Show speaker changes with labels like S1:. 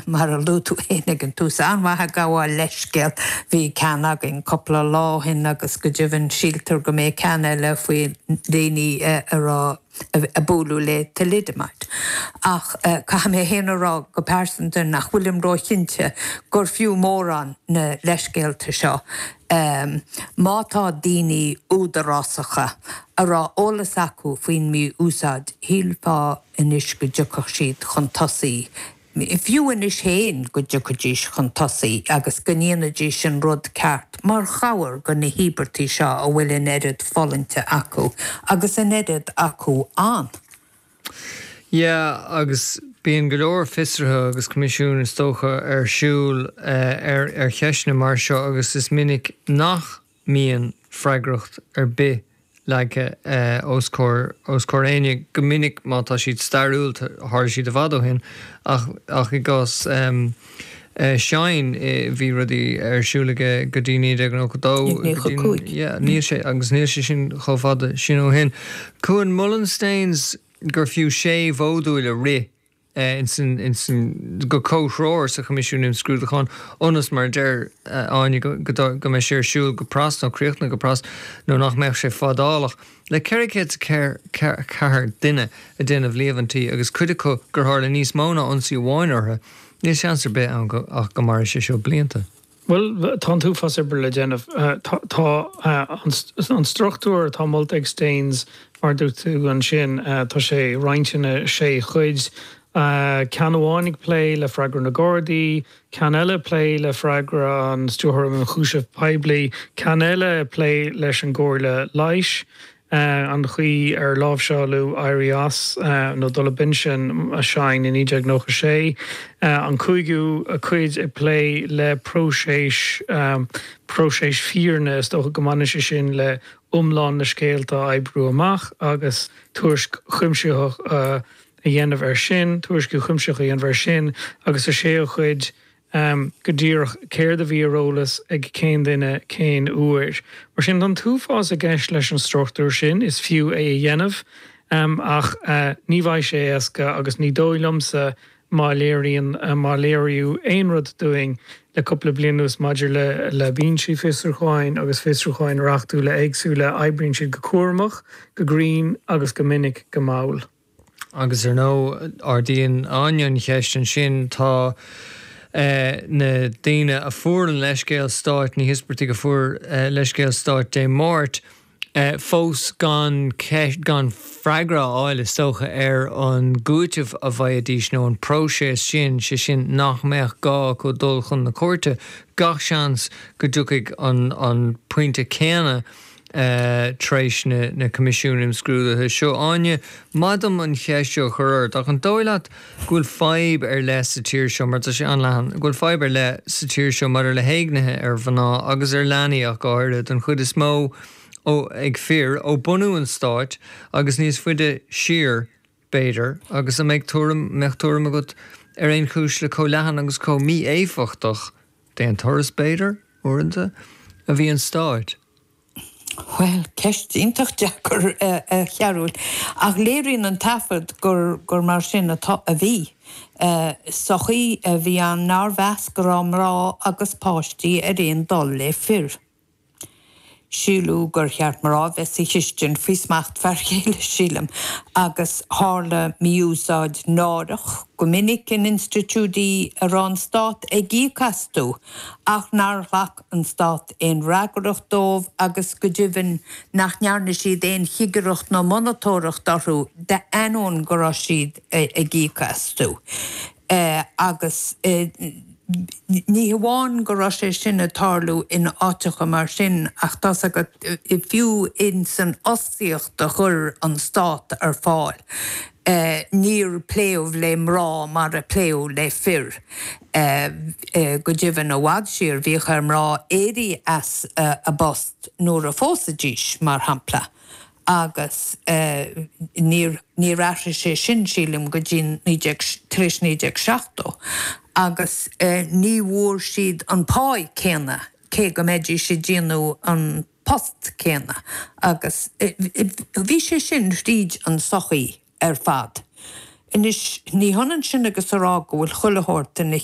S1: mar a luaigh tú féin ag an tús, an-mhaith ag gabháil leithscéal. Bhí ceann againn cúpla lá ó shin agus go deimhin síltear go mbeidh ceann eile faoi dhaoine a raibh, a buaileadh le thalidomide. Ach caithfidh mé féin a rá go pearsanta nach bhfuilim róchinnte gur fiú mórán na leithscéalta seo. Má tá daoine údarásacha a raibh eolas acu faoin mí-úsáid, shílfeá anois go dtiocfadh siad chun tosaigh, fiú anois féin go dtiocfaidís chun tosaigh agus go ndéanfaidís an rud ceart mar chabhair go na híobartaigh seo a bhfuil an oiread fulaingte acu agus an oiread acu ann.
S2: Yeah, agus bíonn go leor fiosruithe agus coimisiún is dócha ar siúl ar ar cheisteanna mar seo agus is minic nach mbíonn freagracht ar bith leagtha os comhair os comhair éinne. Go minic má tá siad stairiúil tharla siad i bhfad ó shin ach ach i gcás Shine bhí rudaí ar siúl aige go dtí 1992
S1: 1995.
S2: Yeah, níl sé agus níl sé sin chomh fada sin ó shin. Cuan, molann Staines gur fiú sé mhódúil a rith insan, insan, go comhthreomhar sa Choimisiún Imscrúdúcháin ionas, mar a deir Áine, go, go, go mbeidh sé ar siúl go pras nó críochnaithe go pras nó nach mbeadh sé fadálach. Le 404 duine ag déanamh líomhaintí agus cuid acu gur tharla níos mó ná ionsaí amháin orthu, níl seans ar bith ann go, ach go mairfidh sé seo blianta.
S3: Bhuel, tá an t-uafás oibre le déanamh. Tá an struchtúr atá molta ag Staines, mar a dúirt tú ansin, tá sé roinnte ina sé chuid. Ceann amháin ag plé le freagra na Gardaí, ceann eile ag plé le freagra an Stiúrthóra um Ionchúiseamh Poiblí, ceann eile ag plé leis an gComhairle Leighis. an chaoi ar láimhseáladh éirí as nó dul i bpinsean Shine i 1996, an cúigiú cuid ag plé le próiseas próiseas fírinne, is dócha go mbaineann sé sin le iomlán na scéalta a oibriú amach agus tuairisc chuimsitheach a dhéanamh air sin, tuairisciú cuimsitheach a dhéanamh air sin, agus sa séú cuid, go díreach céard a bhí ar eolas ag cén duine cén uair. Mar sin, tá an t-uafás i gceist leis an struchtúr sin, is fiú é a dhéanamh, ach ní bheidh sé éasca agus ní dóigh liomsa má léiríonn, má léiríodh aon rud dúinn le cúpla bliain anuas maidir le le binsí fiosrúcháin agus fiosrúcháin reachtúla éagsúla, oibríonn siad go cúramach, go grinn agus go minic go mall.
S2: Agus ar ndóigh, ardaíonn Áine an cheist ansin, tá na daoine a fuair an leithscéal stáit, na híospartaigh a fuair leithscéal stáit Dé Máirt, fós gan gan freagra a fháil, is dócha, ar an gcúiteamh a bhfaighidís nó an próiseas sin, sé sin nach mbeadh gá acu dul chun na cúirte. Gach seans go dtiocfaidh an pointe céanna tar éis na coimisiún imscrúdaithe seo. Áine, maith dom an cheist seo a chur ort, ach an dóigh leat go bhfuil fadhb ar leith sa tír seo, mar tá sé an-leathan, go bhfuil fadhb ar leith sa tír seo maidir le héignithe ar mhná agus ar leanaí ach go háirithe, don chuid is mó ó ag fir, ó bunú an stáit agus níos faide siar, b'fhéidir, agus an mbeidh tuairim, mbeadh tuairim agat ar aon chúis le chomh leathan agus chomh mí-éifeachtach, d'aon turas b'fhéidir, uaireanta, a bhí an stát?
S1: Bhuel, ceist iontach deacair, a Chearúil. Ach léiríonn an taifead gur gur mar sin atá, a bhí. Sochaí a bhí ann nár mheas go raibh mná agus páistí ar aon dul le fir. Síleadh gur cheart mná a bheith sa chistin faoi smacht fear chéile, sílim, agus tharla mí-úsáid náireach go minic in institiúidí a raibh an stát ag íoc astu ach nár ghlac an stát aon fhreagracht dóibh agus go deimhin nach ndearna siad aon chigireacht nó monatóireacht orthu d'ainneoin go raibh siad ag íoc astu. Agus ní hamháin go raibh sé sin ag tarlú in áiteacha mar sin ach tá's agat, fiú ins an fhostaíocht a chuir an stát ar fáil, níor pléadh le mná mar a pléadh le fir. Go deimhin, i bhfad siar, bhíodh ar mná éirí as a bpost nuair a phósaidís, mar shampla, agus níor níor athraigh sé sin, sílim, go dtí 19, tar éis 1970, agus ní bhfuair siad an pá céanna, cé go mbeidís ag déanamh an post céanna agus bhí sé sin thríd an sochaí ar fad. Anois, ní hionann sin agus a rá go bhfuil chuile shórt ina.